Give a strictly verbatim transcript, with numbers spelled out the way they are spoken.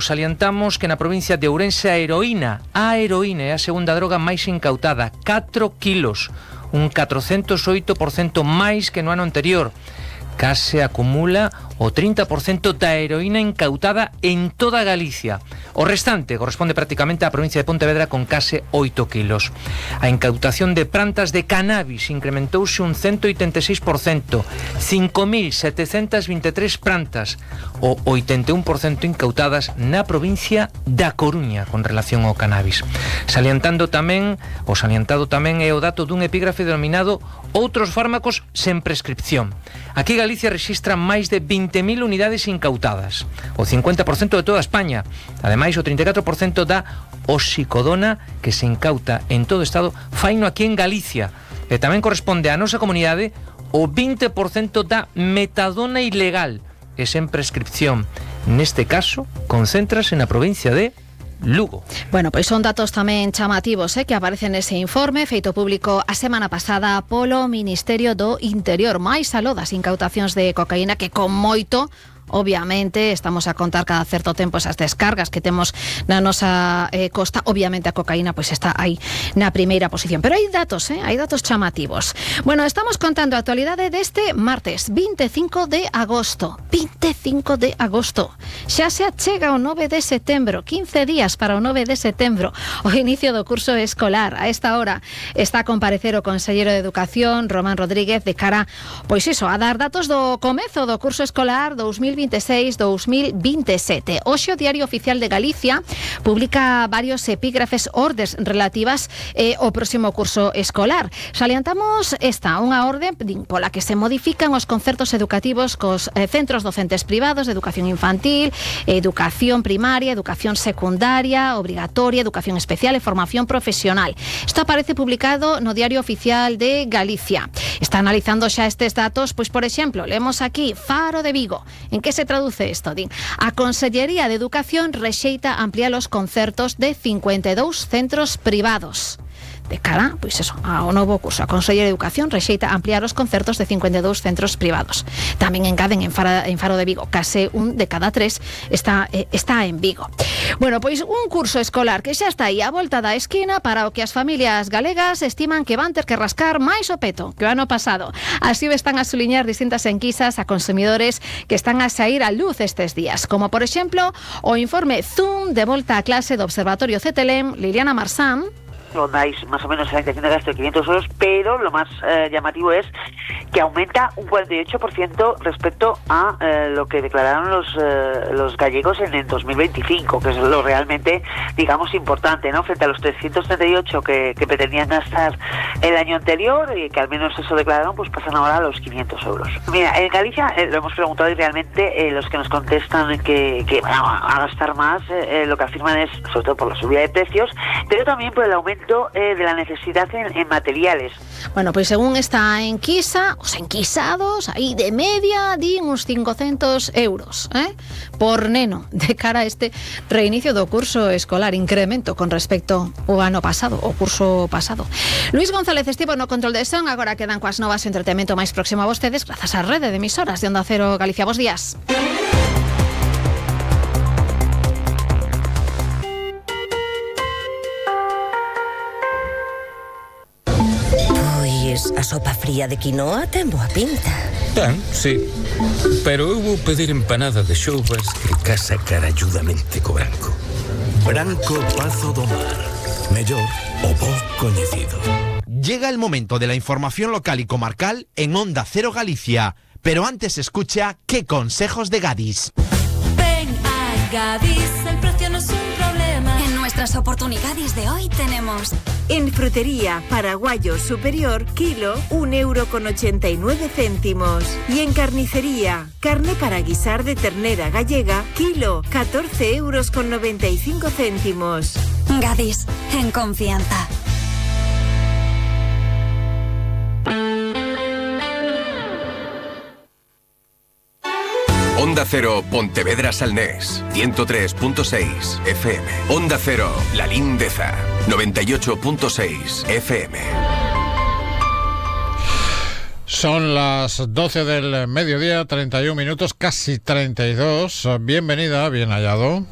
Salientamos que na provincia de Ourense a heroína, a heroína é a segunda droga máis incautada, catro quilos, un catrocentos oito por cento máis que no ano anterior. Case acumula o trinta por cento da heroína incautada en toda Galicia. O restante corresponde prácticamente á provincia de Pontevedra con case oito quilos. A incautación de plantas de cannabis incrementouse un ciento oitenta e seis por cento, cinco mil setecentas vinte e tres plantas, o oitenta e un por cento incautadas na provincia da Coruña con relación ao cannabis. Salientando tamén, o salientado tamén é o dato dun epígrafe denominado Outros fármacos sen prescripción. Aquí Galicia rexistra máis de vinte mil unidades incautadas, o cincuenta por cento de toda España. Ademais, o trinta e catro por cento da oxicodona que se incauta en todo o Estado faino aquí en Galicia. E tamén corresponde á nosa comunidade o vinte por cento da metadona ilegal e sen prescripción. Neste caso, concéntrase na provincia de Lugo. Bueno, pois son datos tamén chamativos eh, que aparecen nese informe feito público a semana pasada polo Ministerio do Interior. Máis aló das incautacións de cocaína que con moito, obviamente, estamos a contar cada certo tempo esas descargas que temos na nosa eh, costa. Obviamente a cocaína pois está aí na primeira posición. Pero hai datos, eh? hai datos chamativos. Bueno, estamos contando a actualidade deste martes vinte e cinco de agosto. vinte e cinco de agosto. Xa se achega o nove de setembro, quince días para o nove de setembro, o inicio do curso escolar. A esta hora está a comparecer o conselleiro de Educación, Román Rodríguez, de cara, pois iso, a dar datos do comezo do curso escolar dous mil vinte e seis dous mil vinte e sete. Hoxe o Diario Oficial de Galicia publica varios epígrafes ordes relativas eh, ao próximo curso escolar. Salientamos esta, unha orde pola que se modifican os concertos educativos cos eh, centros docentes privados de educación infantil, educación primaria, educación secundaria, obrigatoria, educación especial e formación profesional. Isto aparece publicado no Diario Oficial de Galicia. Está analizando xa estes datos, pois, por exemplo, leemos aquí Faro de Vigo. En que se traduce isto? Din, a Consellería de Educación rexeita ampliar os concertos de cincuenta e dous centros privados. De cara, pois eso, ao novo curso. A Consellería de Educación rexeita ampliar os concertos de cincuenta e dous centros privados. Tamén engaden en Faro, en Faro de Vigo, case un de cada tres está, eh, está en Vigo. Bueno, pois un curso escolar que xa está aí a volta da esquina para o que as familias galegas estiman que van ter que rascar máis o peto que o ano pasado. Así o están a suliñar distintas enquisas a consumidores que están a sair á luz estes días, como por exemplo o informe Zoom de volta a clase do Observatorio Cetelem, Liliana Marsán. Rondáis más o menos a la intención de gasto de quinientos euros, pero lo más eh, llamativo es que aumenta un cuarenta y ocho por ciento respecto a eh, lo que declararon los eh, los gallegos en el dos mil veinticinco, que es lo realmente, digamos, importante, ¿no? Frente a los trescientos treinta y ocho que, que pretendían gastar el año anterior y que al menos eso declararon, pues pasan ahora a los quinientos euros. Mira, en Galicia eh, lo hemos preguntado y realmente eh, los que nos contestan que, que van a gastar más, eh, lo que afirman es, sobre todo por la subida de precios, pero también por el aumento Eh, de la necesidad en, en materiales. Bueno, pois según esta enquisa, os enquisados aí de media din uns cincocentos euros eh? por neno de cara a este reinicio do curso escolar, incremento con respecto ao ano pasado, o curso pasado. Luis González estivo no control de son, agora quedan coas novas e entretenimento máis próximo a vostedes grazas á rede de emisoras de Onda Cero Galicia. Bos días. A sopa fría de quinoa ten boa pinta. Ten, sí. Pero eu vou pedir empanada de xoubas que casa caralludamente co branco. Branco Pazo do Mar. Mellor o bo coñecido. Llega el momento de la información local y comarcal en Onda Cero Galicia. Pero antes escucha ¿Qué consejos de Gadis? Ven a Gadis, el precio no es un problema. En nuestras oportunidades de hoy tenemos... En frutería, paraguayo superior, kilo, un euro con ochenta y nueve céntimos. Y en carnicería, carne para guisar de ternera gallega, kilo, catorce euros con noventa y cinco céntimos. Gadis, en confianza. Onda Cero, Pontevedra Salnés, ciento tres punto seis F M. Onda Cero, La Lindeza, noventa y ocho punto seis F M. Son las doce del mediodía, treinta y un minutos, casi treinta y dos. Bienvenida, bien hallado.